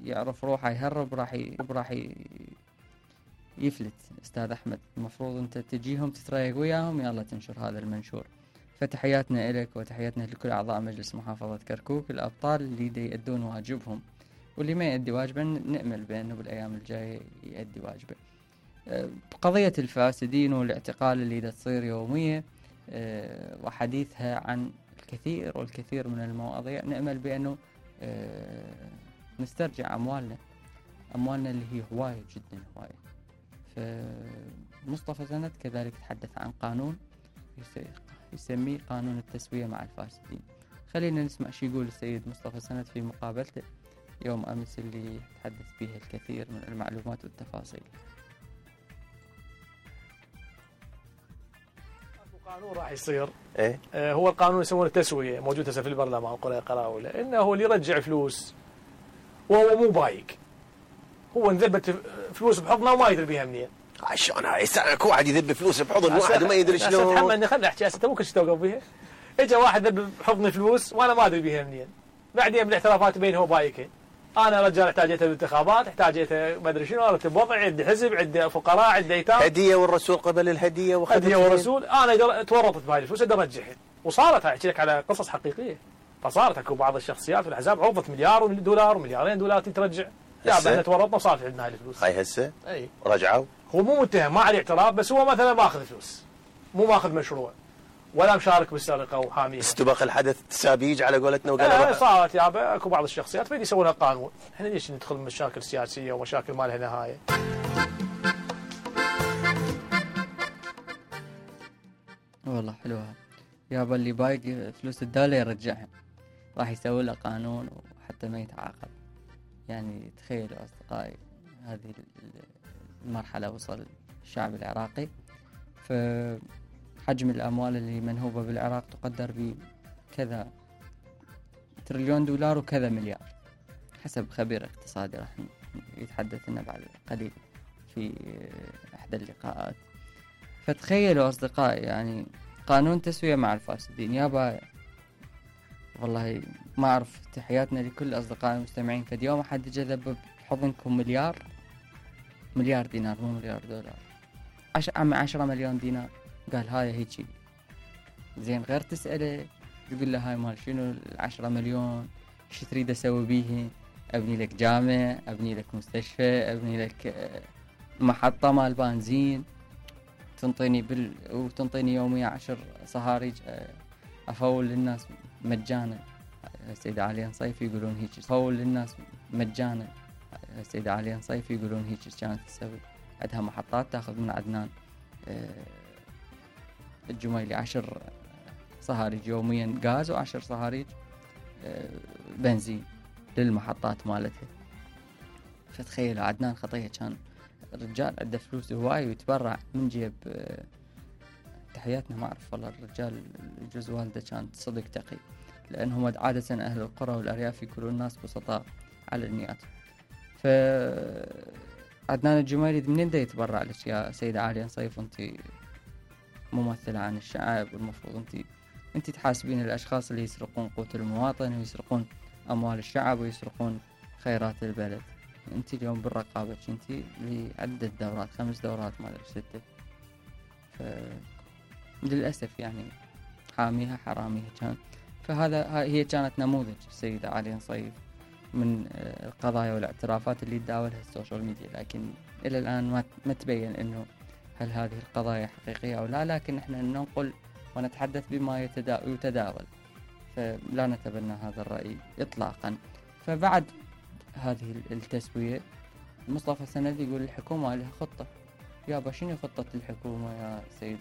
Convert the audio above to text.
يعرف روحه يهرب راح يفلت. أستاذ أحمد المفروض أنت تجيهم تتريق وياهم يلا تنشر هذا المنشور. فتحياتنا إلك وتحياتنا لكل أعضاء مجلس محافظة كركوك، الأبطال اللي دي يأدون واجبهم، واللي ما يأدي واجبه نأمل بأنه بالأيام الجاية يأدي واجبه. قضية الفاسدين والاعتقال اللي دا تصير يومية وحديثها عن الكثير والكثير من المواضيع، نأمل بأنه نسترجع أموالنا اللي هي هواية جدا هواية. فمصطفى سند كذلك تحدث عن قانون يسميه قانون التسوية مع الفاسدين. خلينا نسمع شو يقول السيد مصطفى سند في مقابلته يوم أمس اللي تحدث فيها الكثير من المعلومات والتفاصيل. قانون راح يصير هو القانون يسمونه التسوية، موجود هسه في البرلمان قراءة انه هو اللي يرجع فلوس وهو مو بايق، هو انذبت فلوس بحضنه وما يدري بيها منين. شلون هاي اكو واحد يذب فلوس بحضن واحد وما يدري شلون؟ تحملني خلنا احكي هسه، انت مو كل شيء توقف بيها. اجى واحد ذب بحضني فلوس وانا ما ادري بيها منين، بعدين بالاعترافات بينه هو بايقين. انا رجال احتاجيته بالانتخابات، احتاجيته ما ادري شنو، رتب وضعي، عندي حزب، عندي فقراء، عندي ايتام، هديه والرسول قبل الهديه هديه والرسول. انا تورطت بهاي الفلوس ادري ارجعها، وصارت احكي لك على قصص حقيقيه. فصارت اكو بعض الشخصيات في الاحزاب عرضت $1 دولار ومليارين دولار ترجع. لا احنا تورطنا وصارت عندنا هاي الفلوس. هاي هسه اي رجعوا. هو مو متهم، ما عليه اعتراف، بس هو مثلا ماخذ فلوس، مو ماخذ مشروع ولا مشارك بالسرقه وحاميها. استبق الحدث التسابيج على قولتنا وقال صارت يابا اكو بعض الشخصيات فيدي يسوونها قانون. احنا ليش ندخل مشاكل سياسيه ومشاكل ما لها نهايه؟ والله حلوها يابا، اللي بايق فلوس الدولة يرجعها، راح يسوي له قانون وحتى ما يتعاقب. يعني تخيلوا أصدقائي هذه المرحلة وصل الشعب العراقي. فحجم الأموال اللي منهوبة بالعراق تقدر بكذا $1 تريليون وكذا مليار حسب خبير اقتصادي راح يتحدث لنا بعد قليل في إحدى اللقاءات. فتخيلوا أصدقائي يعني قانون تسوية مع الفاسدين يابا. والله ما أعرف، تحياتنا لكل أصدقائي المستمعين. فد يوم أحد جذب بحضنكم مليار دينار، مو $1 10 مليون دينار. قال هاي هيجي زين، غير تسأله تقول له هاي مال شنو 10 مليون، شو تريد أسوي بيه؟ أبني لك جامع، أبني لك مستشفى، أبني لك محطة مال بنزين، وتنطيني يوميا 10 صهاريج أفول للناس مجانا. السيدة عليا صيفي يقولون هيك، أفول للناس مجانا. السيدة عليا صيفي يقولون هيك كانت تسوي. عندها محطات تاخذ من عدنان الجميلي 10 صهاريج يوميا غاز و10 صهاريج بنزين للمحطات مالتها. فتخيلوا عدنان خطية كان الرجال عنده فلوس هواي ويتبرع من جيب. تحياتنا، ما أعرف والله الرجال جوز والده كان صدق تقي، لأنهم عادة أهل القرى والأرياف يكونون الناس بسطاء على النيات. فعدنان الجميلي منين دا يتبرع لك يا سيدة عالية صيف؟ أنت ممثلة عن الشعب، والمفروض أنت تحاسبين الأشخاص اللي يسرقون قوت المواطن ويسرقون أموال الشعب ويسرقون خيرات البلد. أنت اليوم بالرقابة أنت لعدة دورات، 5 دورات ما أدري 6. للأسف يعني حاميها حراميها كان. هي كانت نموذج السيدة عليا صيف من القضايا والاعترافات اللي تداولها السوشيال ميديا، لكن إلى الآن ما تبين إنه هل هذه القضايا حقيقية أو لا. لكن إحنا ننقل ونتحدث بما يتداول، فلا نتبنى هذا الرأي إطلاقا. فبعد هذه التسوية مصطفى سند يقول الحكومة لها خطة. يابا شنو خطة الحكومة يا سيد